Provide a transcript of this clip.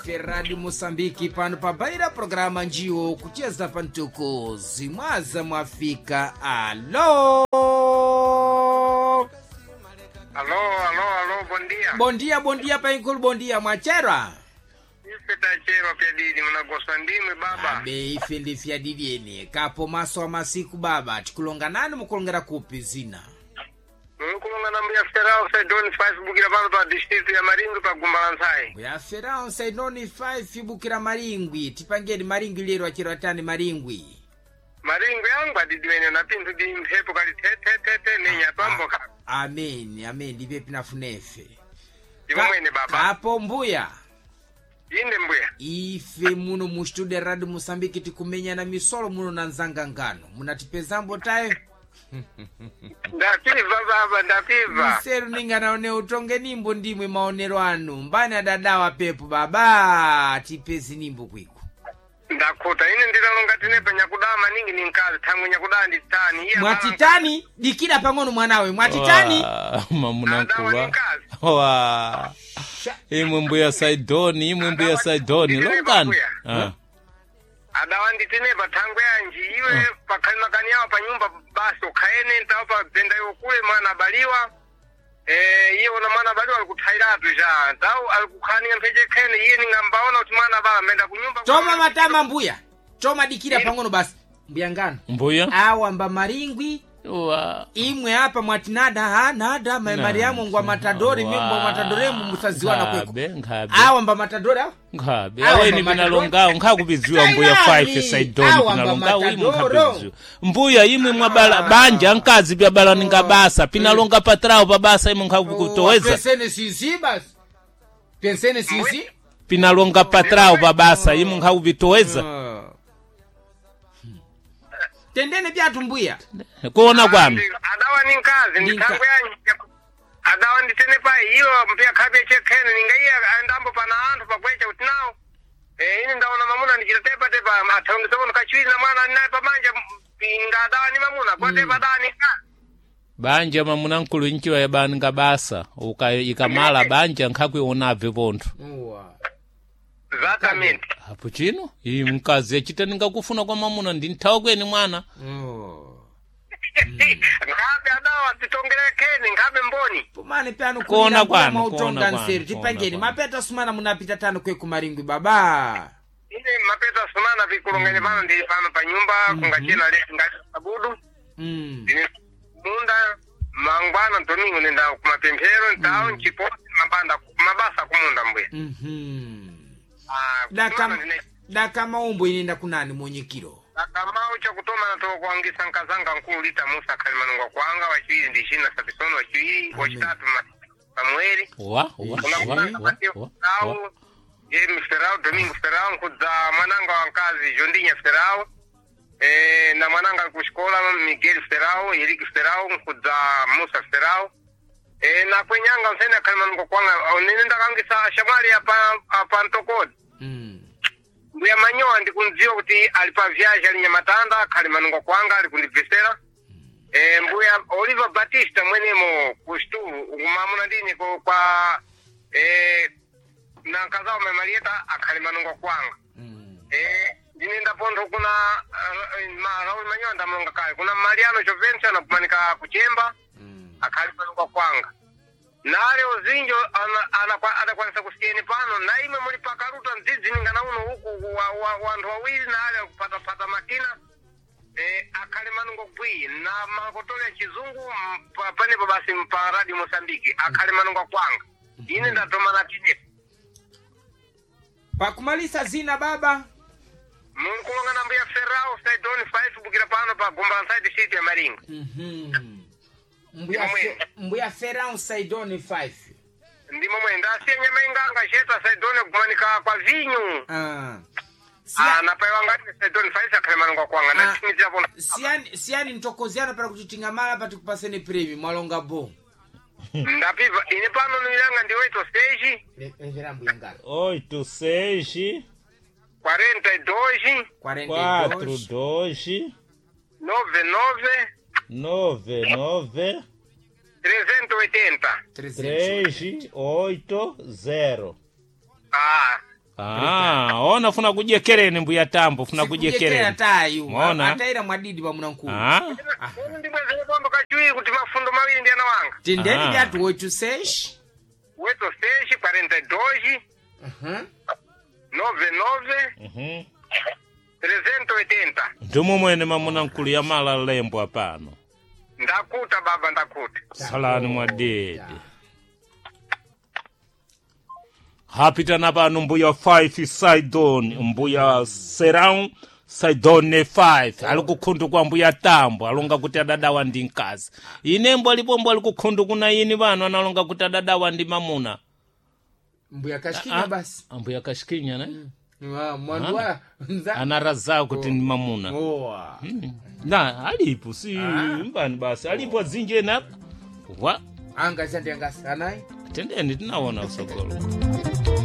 Ife Radio Mosambiki pano pabaira programa njiwo kucheza pantuku zimwaza mwafika. Alo, Alô, alô, alô, bom dia. bondia bondia painkulu bondia mwachera Ife tachero pyadidi munagosa ndimwe baba. Abe ife ndifyadilieni kapo maso a masiku baba tikulonga nani mukulongera kupi zina Mukulonga na mbuya Ferao Saidoni 5 bukira pano pa district ya Maringi pa Gumbalantsai. mbuya Ferao Saidoni 5 bukira Maringwi tipangeni Maringwi lero achero atani Maringwi Maringi yangu adidi wene na pinthu di mphepo kali the the the the nenya pambo ka. Amen amen ndipe pinafunefe Ndimo mwene baba. Kapo mbuya Inde mbuya. Ife muno mu studio ya Radio Mosambiki tikumenyana misolo muno na nzangangano munatipezambo tayo. Ndapiva baba, ndapiva. Mseru ninganaone utonge nimbo ndimwe maonero anu mbani adadawa pepo baba tipezi nimbo kwiko. Ndakhuta ine ndilalonga tinepa nyakudaa maningi ni nkazi thangwe nyakudaa ndi tani. Iye Mwatitani dikira pang'ono mwanawe mwatitani. Wa, mamunankulwa Mkazi. wa imwe mbuya Saidoni, imwe mbuya Saidoni longani. Ah. Adawa nditinepa thangwe yanji iwe pakhali makani yawo pa nyumba basi ukhaene ntawo pa dzenda iwo kule mwana abaliwa. Iye ona mwana abaliwa alikuthairatu ja ntawo alikukhaninga mpheche khene iye ningambaona kuti mwana abala amenda kunyumba. Toma matama mbuya toma dikira pang'ono basi mbuya ngano Mbuya awa mba Maringwi wa imwe apa mwati nada ha nada ma Na. Mariamu ngwa matadori mimbo matadoremu musaziwana kweko. Nkhabe nkhabe Awa mba matadori awa. nkhabe Awa aweni mba pinalongawo nkhakupidziwa mbuya Tayari. 5 Saidoni Awa mba pinalongawo imwe matadoro. nkhakupidziwa mbuya imwe mwabala banja nkazi pyabala ninga basa pinalonga patrawo pa basa imwe nkhakutoweza. Pensene sisi basi pensene sisi. Pinalonga patrawo pa basa imwe nkhakupitoweza. Tendene byatu mbuya. Kuona kwami Adawa ni nkazi Ndi ndi thangwe yanji adawa nditenepa iyo mpiya khabe chekhene ninga iye andambo pana anthu pakwecha kuti nawo. Ine ndaona mamuna ndichita tepa tepa athaongesapono kachiwiri na mwana ali naye pamanja inga adawa ni mamuna kwatepa adawa ni nkazi. Banja mamunankulu nchiwa yabaninga basa uka ikamala banja nkhakuionabve pontho. Uwa. Exatamente. Apo chino iyi mkazi achita ningakufuna kwa mamuna ndi nthawi kweni mwana. Nkhabe adawa titongerekeni nkhabe mboni. Pumani pyanu Kuona kulira kwanu, mbuya mautonga kuona kwanu, nseru kuona tipangeni kwanu. mapeta sumana munapita tano kwe kumaringwi baba. Ine mapeta sumana vikulongene pano ndili pano pa nyumba kungachena leti ngati sabudu. Ndine munda mangwana domingo nenda kumapemphero ntawo nchiposi mabanda mabasa kumunda mbuya. Ah, Daka kumana ndine daka maumbo inenda kunani monyekiro. akamau chakutoma natoka kuangisa nkazanga nkulu lita Musa khalimanungwa kwanga wachiwiri ndi China Sapisono wachiwiri wachitatu Samueli. Wa wa wa wa wa wa. James Ferrao, Domingo Ferrao, nkudza mwananga wa nkazi Jondinya Ferrao, na mwananga ali kuxikola Miguel Ferrao, Eric Ferrao, nkudza Musa Ferrao. Na kwenyanga msene akhalimanungo kwanga nene ndakangisa ashamwali apa apa ntokodi. Mbuya Manyowa ndikundziwa kuti ali pa viaji ali Nyamatanda akhalimanungo kwanga ali kundibvesera. Mbuya Oliver Batista mwenemo kuxitulu ukumamuna ndine kwa na nkazawo Marieta akhali manungo kwanga. Ndinenda pontho kuna Raul Manyowa ndamulonga kale kuna Mariano Jovencio anakumanika kuchemba akhali manungo kwanga nale uzinjo adakwanisa kusiyeni pano na imwe muli pakaruta mdzidzi ningana uno uku wanthu wawiri nale akupatapata makina akhale manungo bwi na makotole ya chizungu panepo basi pa Radio Mosambiki akhale manungo kwanga ine ndatomana tine. Pakumalisa zina baba. Munkulonga na mbuya Ferrao Saidoni 5 bukira pano pa Gumbalantsai district ya Maringa. Mbuya mbuya Ferrao Saidoni 5. Ndimo mwe ndasiya nyama inganga cheta Saidoni kumanika kwa vinyu. Ah. Ah, napaiwa ngati Saidoni 5 akhale manungo kwanga ndatimizira pona. Siyani siyani ntokoziana para kuti tingamala pati kupaseni premi mwalonga bo. Ndapiva ine pano nilanga ndi 8 stage Levera mbuya ngano. 8 6 42 4 42 2 99 9 9 380. 3 3 8 0. Ah, Ah, ona funa kujekereni mbuya Tambo, funa Sikujekera kujekereni. tayu. Mwaona? Ataira mwadidi pa munankulu. Ah, Ine ndibwezere kwamba kachiwiri kuti mafundo mawiri ndi ana wanga. Tendeni Ah. vyatu 86. 86 42 99 380. ndimo mwene mamuna nkulu yamala lembwa pano. Ndakuta baba, ndakuta. Salani mwadede. Hapitana pano mbuya 5 Sidon, mbuya Serão Sidone 5 ali kukhundu kwa mbuya Tambo alonga kuti adadawa ndi mkazi. Inembo alipombo ali kukhundu kuna ini pano analonga kuti adadawa ndi mamuna. Mbuya kashikinya basi. Ambuya kashikinya ne? Ah, mwandu wa nza. Anarazao kuti ndi mamuna. Oa. Na alipo si mbani basi alipo azinje na wa Anga zandi anga sanai. tendeni tinaona usogolo.